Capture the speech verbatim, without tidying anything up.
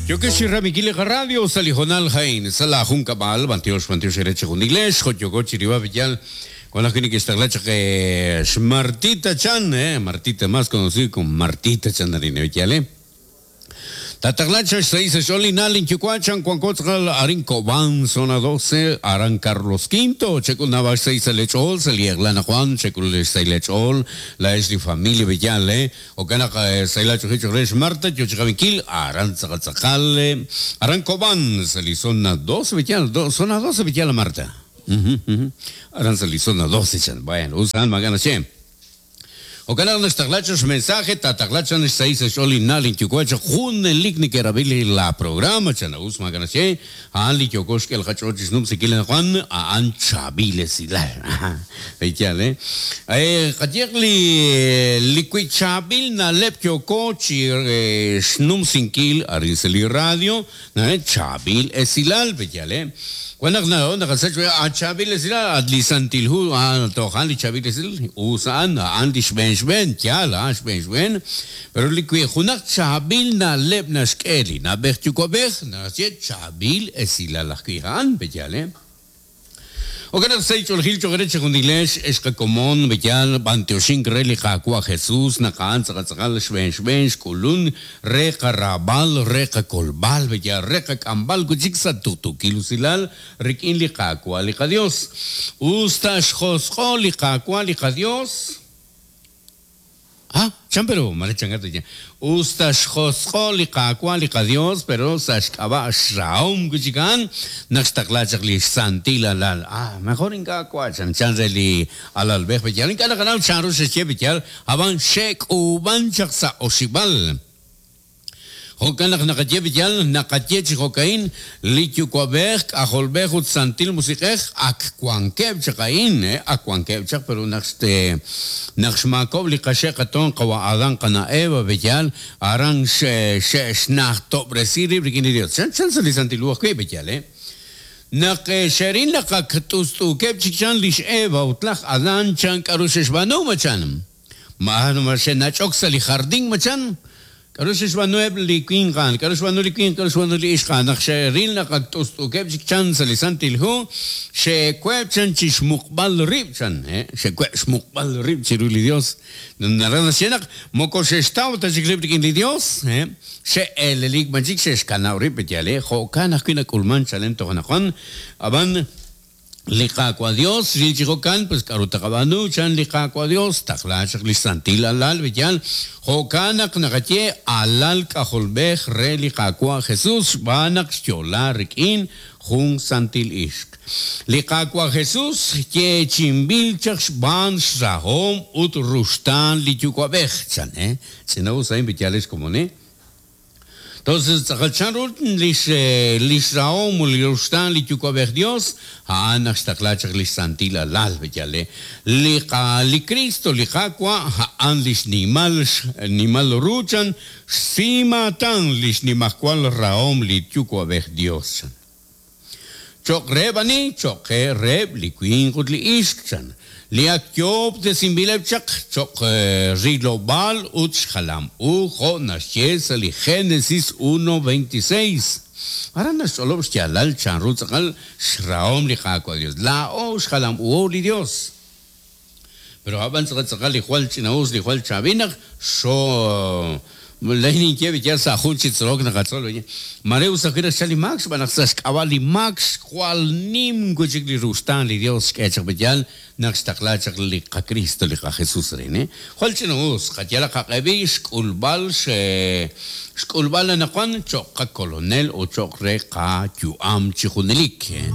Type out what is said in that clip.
Yokesh Ramikili Radio Salijonal Jain, Sala Juncabal, Bantiosh, Bantiosh, Ereche Juniglesh, Joyogochi, Ribavillal, con la que está que Martita Chan, eh, Martita más conocido como Martita Chan Darinevillale. Tataglacha seis Xolinal Inchucuachan, Cuancotzal, Arin Cobán, zona doce, Aran Carlos Quinto, Checul Navash seis Lechol, Seliaglana Juan, Checul seis Lechol, la Esli Familia Villale, Ocana Seilacho Hicho Resh Marta, Yochicaviquil, Aran Zacatzacale, Aran Cobán, Selizona doce Villal, zona doce Villala Marta. Aran Selizona doce, bueno, usan Magana Che. Ocanal nestaglachos mensaje, tataglachan seis xolinal inchucuacho, junelik nikerabili la programa, chanaus maganache, ali yokosh el hachochis num sikilen Juan, a anchabiles y la. Veichale. Eh, kayekli liquichabil na lep yokochi snum sinkil arinseli radio, na chabil esilal, veichale. Cuando no, no, a chabil esilal, adlisantilhu, a tojan li chabil esil, usan, andish ben ben yala ben ben pero li junak chabil na leb na shkeli na bech chukobech na chabil esilal kihan bejale Ocanar seis olgil chogereche jundilesh escacomón bejal banteoshin reli jacua Jesús nakan zacatzal shben shben shkulun reqa rabal reqa kolbal bejal reqa kambal kuchiksa tutukilusilal rikin li jacua li Dios usta shjosjo li jacua li Dios. Ah, chan pero malechangato ya. Usta xjosjo li qaqua li Dios, pero saxkaba xraum kuchikan, naxtaklachak li santila lal. Ah, mejor inka qua chan chan li alal bej bejal. Inka nakanal chan ru xe bejal, aban shek uban chaksa oshibal. Jokan nakaye bejal, nakaye chijokain, lityukuabej, ajolbej ut santil musikej, akkuankeb chakain, eh, akkuankeb chak, pero naxte, naxmakob li kashe katon kawa adan kana eva bejal, aran she, she, shnach tobresiri, brikini Dios. Chan, chan sali santil uajke bejal, eh. Nake sherin lakak tustuukeb chichan lish eva utlaj adan chan karusheshbanu machan. Mahanu marche nachok sali jardín machan. Karusheshbanueb li kwingan, karushbanu li kwin, karushbanu li ishkan, naxeril nakaktustuukeb chichan sali santilhu, shekweb chan chishmukbal rib chan, eh, shekweb shmukbal rib chiruli Dios. Narana shenak, moko shestaw tachikrib li Dios, eh, she elelik manchik sheshkanaw rib yale, jokan ajkina kulman chalen tojanakon, aban liqaqua Dios, lichijokan, pues karutakabanu, chan liqaqua Dios, taklachak lisantil alal, bejal, jokanak nakaye, alal kajolbej, re liqaqua Jesús, banak yola rikin, jun santil ishk. Liqaqua Jesús, ye chimbilchak, ban sahom, ut rustan lichucuabej, chan, eh, si no usa invitales como ne. Entonces, tzakachan lish lish raom li rustan li chukwabej Dios, haanak xtaklachak lish santil alal bejale. Li ka li Cristo li jakwa haan lish nimal nimal ruchan simatan lish nimakwal raom li chukwabej Dios. Chok rebani chok reb li kwingut li ishkchan. Li akyob de simbileb chak chok rilobal ut xalam ujo nashes li Génesis uno veintiséis. Ahora nasolob xalal chan rutzakal shraom li jakwa Dios. La o xalam u li Dios. Pero aban tzakal li jual chinaus li jual chabinak so Lenin que ya sa junchi tzrok na katzol oye. Mareu sakira shali max banak saskawali max cual nim kuchik li rustan li Dios que chak bejal naxtaklachak li ka Cristo li ka Jesús rene. Jual chinaus katiala ka qebish kulbal she xkulbal na kwan chok ka colonel o chok re ka yuam chijunelik.